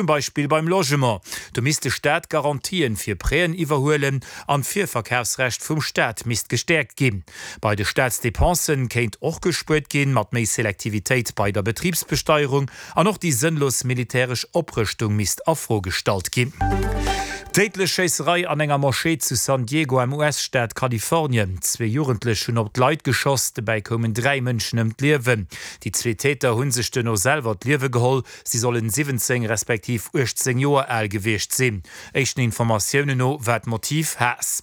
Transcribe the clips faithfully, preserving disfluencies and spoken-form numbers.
zum Beispill beim Logement. Do misst de Staat Garantien fir Prêten iwwerhuelen an d'Virverkafsrecht vum Staat misst gestäerkt ginn. Bei de Staatsdepensen kéint och gespuert ginn, mat méi Selektivitéit bei der Betribsbesteierung an och déi sënnlos militäresch Oprëschtung misst a Fro gestallt ginn. Déidlech Schéisserei an enger Moschee zu San Diego am U S-Staat Kalifornien. Zwee Jugendlech hunn op d'Leit geschoss, dobäi koumen dräi Mënschen ëm d'Liewen. Déi zwee Täter hu sech duerno selwer d'Liewe geholl. Si sollen siwwenzéng respektiv uechtzéng Joer al gewiescht sinn. Éischten Informatiounen no war d'Motiv Haass.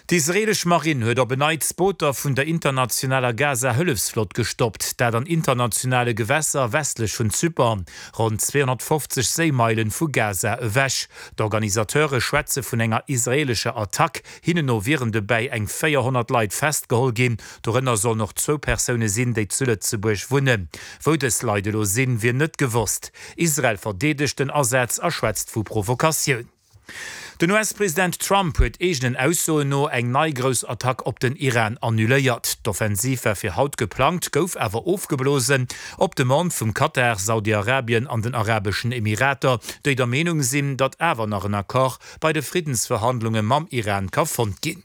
D'israeelesch Marinn huet op en Neits Booter vun der internationaler Gaza-Hëllefsflott gestoppt, dat an internationale Gewässer westlech vun Zypern, ronn zweehonnertfofzeg Séimeilen vu Gaza ewech. D'Organisateure schwätze vun enger israeelescher Attack. Hinnen no wieren dobäi eng véierhonnert Leit festgeholl ginn, dorënner sollen och zwou Persoune sinn, déi zu Lëtzebuerg wunnen. Wou dës Leit elo sinn, wier net gewosst. Israel verdeedegt den Asaz a schwätzt vu Provokatioun. Den U S-President Trump huet eegenen Aussoen no eng nei grouss Attack op den Iran annuléiert. D'Offensiv war fir haut geplangt, gouf awer ofgeblosen op Demande vum Katar, Saudi-Arabien an den Arabeschen Emirater, déi der Meenung sinn, datt awer nach en Accord bei de Friddensverhandlunge mam Iran ka fonnt ginn.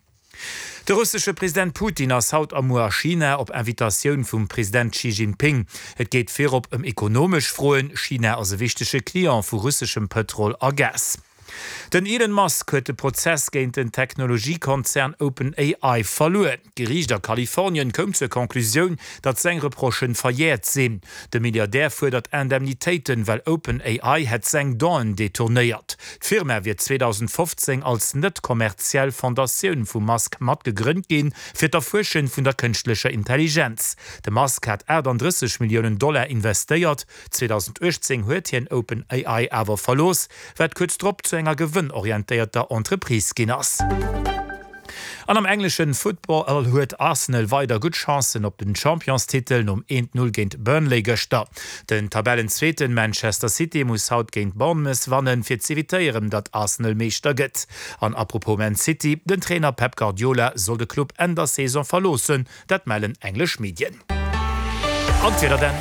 De russesche President Putin ass haut a muer a China op Invitatioun vum President Xi Jinping. Et geet virop ëm ekonomesch Froen. China ass e wichtege Client vu russeschem Pëtrol a Gas. Den Elon Musk huet de Prozess géint den Technologiekonzern OpenAI verluer. D'Geriicht a Kalifornien koum zur Conclusioun, datt seng Reprochë verjäert sinn. De Milliardär fuerdert Indemnitéiten, well OpenAI hätt seng Donnéeën detournéiert. D'Firma wier zweedausendfofzéng als net kommerziell Fondatioun vum Musk matgegrënnt ginn, fir d'Erfuersche vun der kënschtlecher Intelligenz. De Musk hat aachtanddrësseg Milliounen Dollar investéiert. zweedausenduechtzéng huet hien OpenAI awer verlooss, wat kuerz drop zu enger gewënnorientéierter Entreprise ginn ass. An am engleschen Football huet Arsenal weider gutt Chancen op den Championstitel nom eent Null géint Burnley gëschter. Den Tabellenzweeten Manchester City muss haut géint Bournemouth wannen, fir z'evitéieren, datt Arsenal Meeschter gëtt. An apropos Man City, den Trainer Pep Guardiola soll de Club Enn der Saison verloossen, dat mellen englesch Medien. An d'Wieder dann.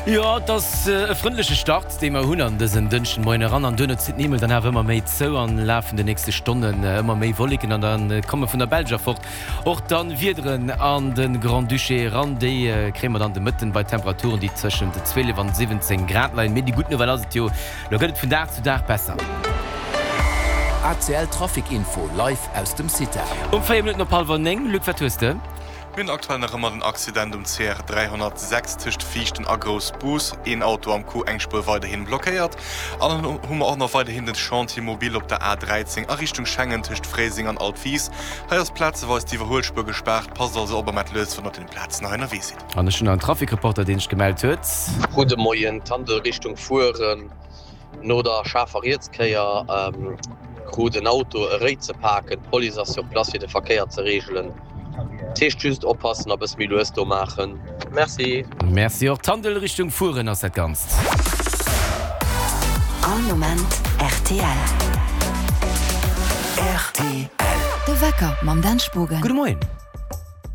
Jo, et ass e frëndleche Start, dee mer hunn an dësen Dënschdenmoien eran. An duerno zitt den Himmel dann awer ëmmer méi zou an Laf vun den nächste Stonnen ëmmer méi Wolleken an da komme vun der Belsch erfort och dann Wiederen an de Grand-Duché eran. Déi kréie mer dann de Mëtten bei Temperaturen, déi tëschent zwielef an siwwenzéng Grad leien. Mee déi gutt Nouvelle ass et jo, lo gëtt et vun Dag zu Dag besser. A C L Trafic Info live aus dem CITAR. Um véier Minutten op hallwer néng. Luc, wat hues de? Mir hunn aktuell nach ëmmer den Accident um C R dräihonnertsechs tëscht Viichten a Groussbus. Een Auto am Coup, eng Spuer weiderhin blockéiert. An dann hu mer och nach weiderhin den Chantier mobile op der A dräizéng a Richtung Schengen tëscht Fréiseng an Altwis. Hei ass plazeweis d'Iwwerhuelspuer gespaart. Passt also op a maacht lues, wann der op deene Plazen hei ënnerwee sidd. An ech hunn nach en Trafic-Reporter, deen sech gemellt huet. Gudde Moien, Tandel Richtung Furen, no der schaarfer Rietskéier krut en Auto e Réi ze paken. D'Police ass sur place fir de Verkéier ze reegelen. Dat heescht just oppassen a bësse méi lues do maachen. Merci. Merci och. Tandel Richtung Furen ass dat Ganzt. All Moment R T L. R T L. De Wecker mam Dan Spogen. Gudde Moien.